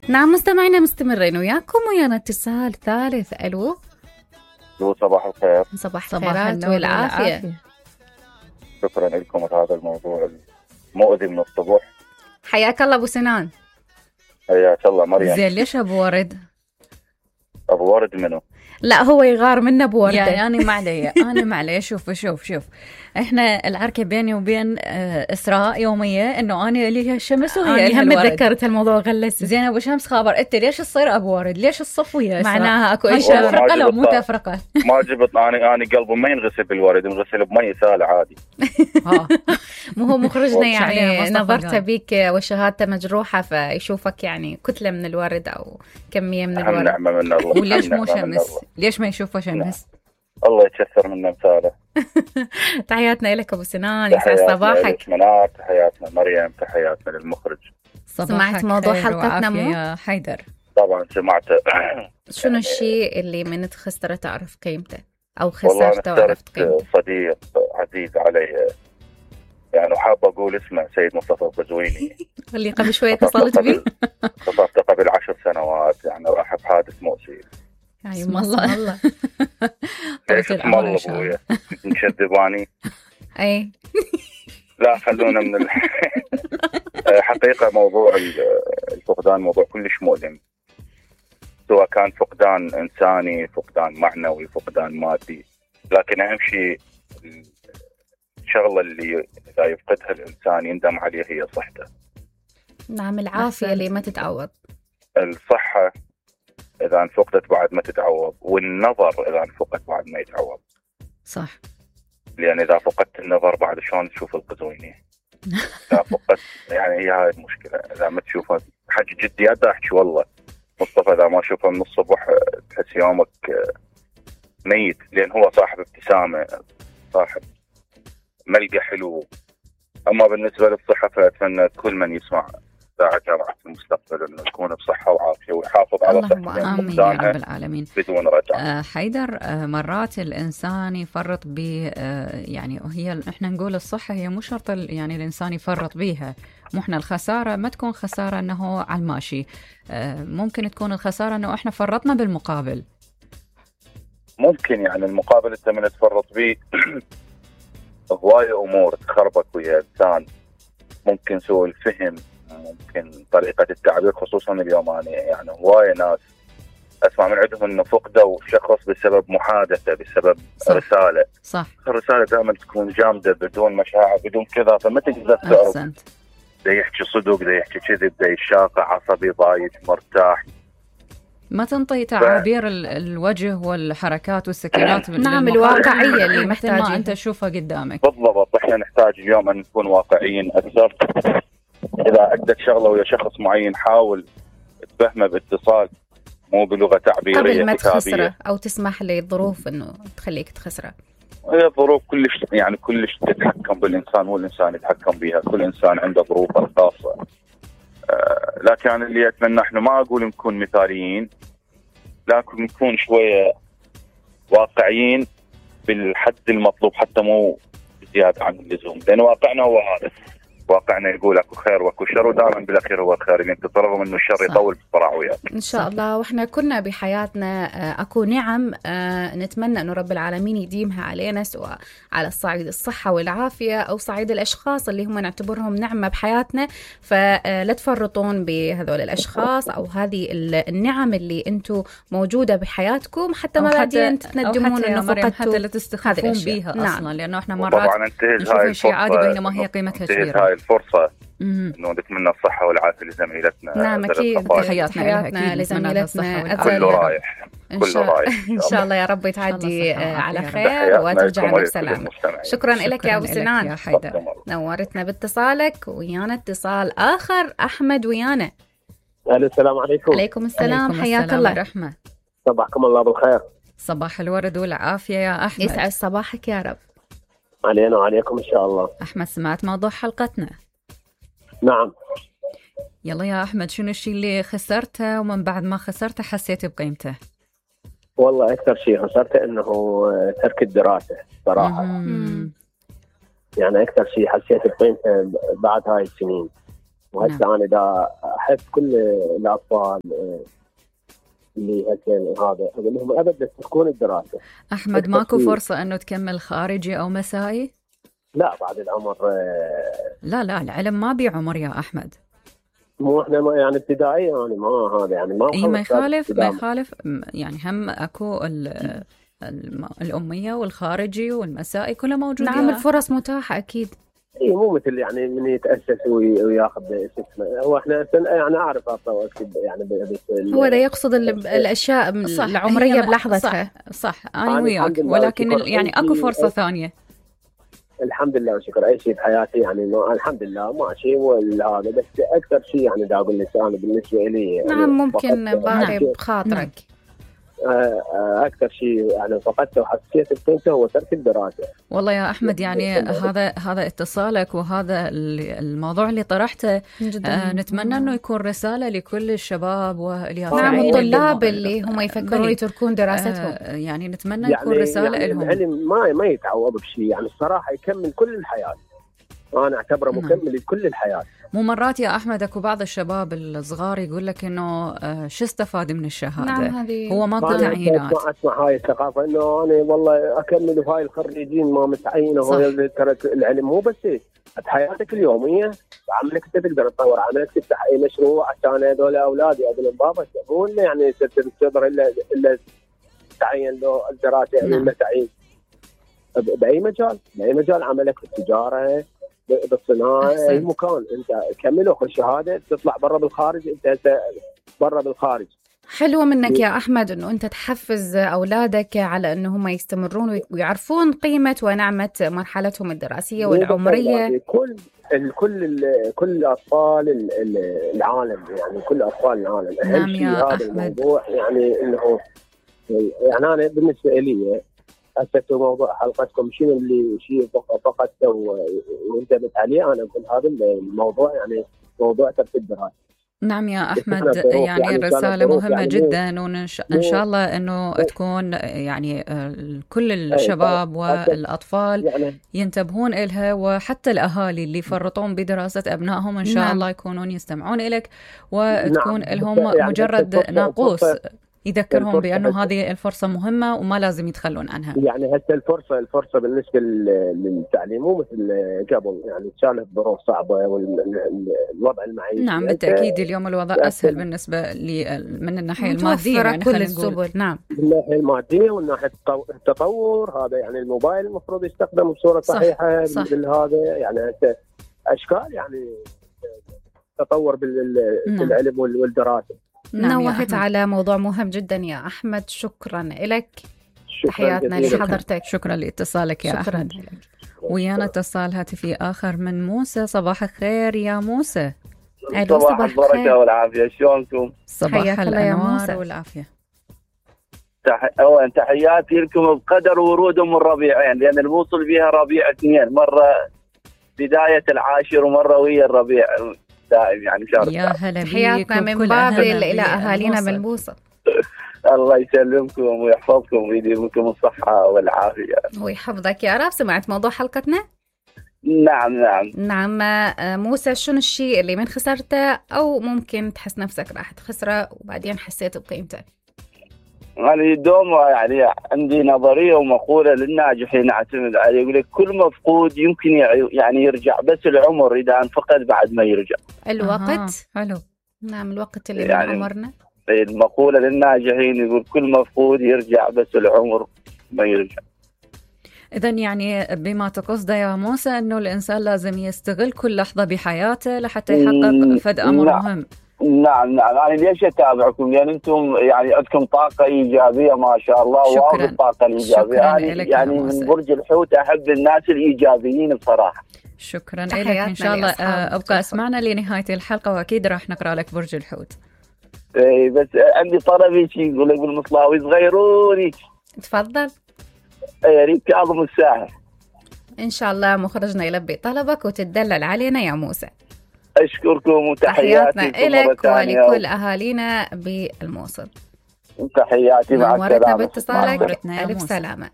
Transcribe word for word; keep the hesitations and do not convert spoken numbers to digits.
نعم مستمعينا مستمرين وياكم ويانا اتصال ثالث. الو صباح الخير. صباح الخيرات والعافية. شكرا لكم على هذا الموضوع المؤذي من الصبح. حياك الله ابو سنان. حياك الله مريم. زين ليش ابو ورد؟ ابو ورد منو؟ لا هو يغار منا ابو ورده. يعني انا ما علي انا ما علي. شوف شوف شوف احنا العركه بيني وبين اسراء يوميه انه انا لي الشمس وهي انا هم تذكرت الموضوع غلس. زين ابو شمس خابر انت ليش تصير ابو ورد؟ ليش الصف ويا اسراء؟ معناها اكو اشياء تفرقه لو مو تفرقه. ما جبت انا انا قلبي ما ينغسل بالورد، ينغسل بمي سهل عادي. ها مو هو مخرجنا يعني نظرته بيك وشهادته مجروحه فيشوفك يعني كتله من الورد او كميه من الورد. نعمه من الله. وليش مو شمس؟ ليش ما يشوفه شمس؟ الله يتشثر منا مثاله. تحياتنا لك ابو سنان، يسعد صباحك. منار، تحياتنا مريم، تحياتنا للمخرج. سمعت موضوع حلقتنا مو يا حيدر؟ طبعا سمعته. شنو الشيء اللي من تخسره تعرف قيمته او خسرته وعرفت قيمته؟ صديق عزيز علي يعني وحابه اقول اسمه سيد مصطفى البزويني اللي قبل شويه اتصلت بيه. اتصلت قبل عشر سنوات يعني راح بحادث مؤسف. يعني الله الله. طيب العمر ان شاء الله. مكذباني. اي لا خلونا من ال... حقيقه موضوع الفقدان موضوع كلش مؤلم، سواء كان فقدان انساني، فقدان معنوي، فقدان مادي، لكن اهم شيء الشغله اللي اذا يفقدها الانسان يندم عليها هي صحته. نعم العافيه اللي ما تتعوض. الصحه إذا انفقدت بعد ما تتعوض، والنظر إذا انفقد بعد ما يتعوض. صح. لأن إذا فقدت النظر بعد شلون تشوف القزويني؟ إذا فقدت يعني هي هاي المشكلة، إذا ما تشوفه حج جدي أدا أحكي والله مصطفى إذا ما أشوفه من الصبح تحس يومك ميت، لأن هو صاحب ابتسامة، صاحب ملقى حلو. أما بالنسبة للصحة فأتمنى كل من يسمع ساعة جامعة المستقبل إنه يكون بصحة وعافية ويحافظ على صحته. آمين يا رب العالمين. بدون رجعة. آه حيدر، آه مرات الإنسان يفرط ب آه يعني هي إحنا نقول الصحة هي مو شرط يعني الإنسان يفرط بيها، مو إحنا الخسارة ما تكون خسارة إنه على الماشي، آه ممكن تكون الخسارة إنه إحنا فرطنا بالمقابل. ممكن يعني المقابل أنت من تفرط بيه هواية أمور تخربك ويا إنسان، ممكن سوء الفهم، ممكن طريقة التعبير، خصوصا اليوم أنا يعني هواية ناس أسمع من عندهم إنه فقدوا شخص بسبب محادثة، بسبب صح. رسالة. صح. الرسالة دائما تكون جامدة بدون مشاعر بدون كذا، فما تقدر تعرف ده يحكي صدق ده يحكي كذب ده يشاقع عصبي ضايج مرتاح، ما تنطي تعابير ف... الوجه والحركات والسكنات. نعم الواقعية اللي محتاج أنت تشوفها قدامك. بالضبط. إحنا نحتاج اليوم أن نكون واقعيين أكثر. إذا عندك شغلة ويا شخص معين حاول تفهمه باتصال مو بلغة تعبيرية قبل ما تخسره أو تسمح للظروف إنه تخليك تخسره. هي الظروف كلش يعني كلش تتحكم بالإنسان، مو الإنسان يتحكم بها، كل إنسان عنده ظروفه الخاصة. آه لكن أنا اللي أتمنى إحنا ما أقول نكون مثاليين، لكن نكون شوية واقعيين بالحد المطلوب، حتى مو زيادة عن اللزوم، لأن واقعنا هو هذا. واقعنا يقول اكو خير واكو شر، ودائما بالاخير هو الخير، اللي انت ترغم انه الشر يطول بسرعه وياك. ان شاء الله. واحنا كنا بحياتنا اكو نعم نتمنى انه رب العالمين يديمها علينا، سواء على الصعيد الصحه والعافيه او صعيد الاشخاص اللي هم نعتبرهم نعمه بحياتنا، فلا تفرطون بهذول الاشخاص او هذه النعم اللي انتم موجوده بحياتكم، حتى ما بعدين تندمون انه فقدتوا، حتى لا تستخفون بيها اصلا. نعم. لانه احنا مرات نشوف شيء عادي بينما هي قيمتها كبيره. الفرصة إنه نتمنى الصحة والعافية لزميلتنا. نعم أكيد، تحياتنا لزميلتنا. كله رايح كله رايح إن شاء الله يا رب تعدي على خير وترجعنا بسلامة. شكرا لك يا أبو سنان، يا حيدر، نورتنا باتصالك. ويانا اتصال آخر، أحمد ويانا. السلام عليكم. عليكم السلام، حياك الله. رحمة. صباحكم الله بالخير. صباح الورد والعافية يا أحمد. يسعد صباحك يا رب. علينا وعليكم إن شاء الله. أحمد سمعت موضوع حلقتنا؟ نعم. يلا يا أحمد، شنو الشيء اللي خسرته ومن بعد ما خسرته حسيت بقيمته؟ والله أكثر شيء خسرته إنه ترك الدراسة صراحة. مم. يعني أكثر شيء حسيت بقيمته بعد هاي السنين. وهسه نعم. أنا دا احب كل الاطفال اللي هكذا هذا اقول لهم ابدا تكون الدراسه. احمد ماكو فرصه انه تكمل خارجي او مسائي؟ لا بعد العمر. لا لا العلم ما بعمر يا احمد. مو احنا ما يعني ابتدائي يعني ما هذا يعني ما اي ما يخالف ما يخالف يعني هم اكو الاميه والخارجي والمسائي كلها موجوده. نعم الفرص متاحه اكيد. اي مو مثل يعني من يتاسس وياخذ اسمه. هو احنا يعني اعرف اكتب يعني هو ده يقصد الاشياء العمريه بلحظتها. صح, صح. انا وياك ولكن يعني اكو فرصه ثانيه. الحمد لله وشكر. اي شيء بحياتي يعني ما الحمد لله ماشي وهذا بس اكثر شيء يعني دا اقول لك انا بالنسبه لي نعم يعني ممكن باري بخاطرك اكثر شيء يعني فقدته وحسيت بقيمته هو ترك الدراسه. والله يا احمد يعني هذا هذا اتصالك وهذا الموضوع اللي طرحته آه نتمنى انه يكون رساله لكل الشباب واليافعين. نعم الطلاب اللي هم يفكرون يتركون دراستهم آه يعني نتمنى يعني يكون رساله يعني لهم. العلم ما ما يتعوض بشيء يعني الصراحه يكمل كل الحياه. انا اعتبره مكمل لكل الحياه. مو مرات يا احمد اكو بعض الشباب الصغار يقول لك انه آه شو استفاد من الشهاده؟ نعم هو ماكو تعيينات. ما اسمع هاي الثقافه انه انا والله اكمل وهاي الخريجين ما متعينه. هو ترك العلم مو بس بحياتك اليوميه بعملك انت تقدر تطور عملك تفتح اي مشروع عشان هذول اولادي اقول لهم بابا مو يعني تقدر الا الا تعين له الدراسه او نعم. تعيين باي مجال باي مجال عملك في التجاره بالصناعه اي مكان انت كمل وخذ شهاده تطلع برا بالخارج انت برا بالخارج. حلوه منك يا احمد انه انت تحفز اولادك على انه هم يستمرون ويعرفون قيمه ونعمه مرحلتهم الدراسيه والعمريه. كل كل كل الاطفال العالم يعني كل اطفال العالم اهم نعم شيء هذا الموضوع يعني انه يعني انا بالنسبه لي هسه موضوع حلقتكم شنو اللي شيء فقدته وانتبهت عليه انا اقول هذا الموضوع يعني موضوع ترك الدراسه. نعم يا أحمد يعني, يعني رسالة مهمة يعني جدا وإن شاء الله أنه تكون يعني كل الشباب والأطفال يعني ينتبهون إلها وحتى الأهالي اللي يفرطون بدراسة أبنائهم إن شاء نعم. الله يكونون يستمعون إليك وتكون نعم. لهم يعني مجرد ناقوس يذكرهم بأنه هذه الفرصة مهمة وما لازم يتخلون عنها. يعني هسه الفرصة الفرصة بالنسبة للتعليم مو مثل قبل يعني كانت ظروف صعبة والوضع المعيشي. نعم بالتأكيد اليوم الوضع أسهل بالنسبة لي من الناحية المادية يعني كل السبل. نعم من الناحية المادية والناحية التطور هذا يعني الموبايل المفروض يستخدم بصورة صحيحة بالهذا يعني أشكال يعني تطور بالعلم والدراسة. نعم نوهت على موضوع مهم جدا يا أحمد. شكرا لك. تحياتنا لحضرتك. شكرا لاتصالك يا شكرا أحمد. ويانا اتصال هاتفي آخر من موسى. صباح الخير يا موسى. صباح البركة والعافية. شلونكم؟ صباح الأنوار والعافية. تح... أولا تحياتي لكم بقدر ورود من ربيعين لأن الموصل بها ربيع اثنين مرة بداية العاشر ومرة ويا الربيع دائم يعني شهر. يا هلا بيك. حياتنا من بابل إلى أهالينا بالموصل. الله يسلمكم ويحفظكم ويديمكم الصحة والعافية. ويحفظك يا رب. سمعت موضوع حلقتنا؟ نعم نعم نعم. موسى شنو الشيء اللي من خسرته أو ممكن تحس نفسك راح تخسره وبعدين حسيت بقيمته؟ أنا دوم يعني عندي نظرية ومقولة للناجحين أعتمد عليه يقول لك كل مفقود يمكن يعني يرجع بس العمر إذا انفقد بعد ما يرجع. الوقت. حلو. نعم الوقت اللي يعني من عمرنا. المقولة للناجحين يقول كل مفقود يرجع بس العمر ما يرجع. إذن يعني بما تقصد يا موسى أنه الإنسان لازم يستغل كل لحظة بحياته لحتى يحقق فد أمر نعم. مهم. نعم نعم أنا ليش أتابعكم لأن أنتم يعني عندكم طاقة إيجابية ما شاء الله. شكرا. الطاقة الإيجابية يعني, يعني من برج الحوت أحب الناس الإيجابيين بصراحة. شكرا لك إن شاء الله. أبقى أسمعنا لنهاية الحلقة وأكيد راح نقرأ لك برج الحوت. إيه بس عندي طلبي شيء يقول يقول مصلاوي صغيروني. تفضل. يا ريت كاظم الساحر. إن شاء الله مخرجنا يلبي طلبك وتدلل علينا يا موسى. أشكركم وتحياتي لك ولكل أهالينا بالموصل. تحياتي مع السلامة. باتصالك. ألف سلامة.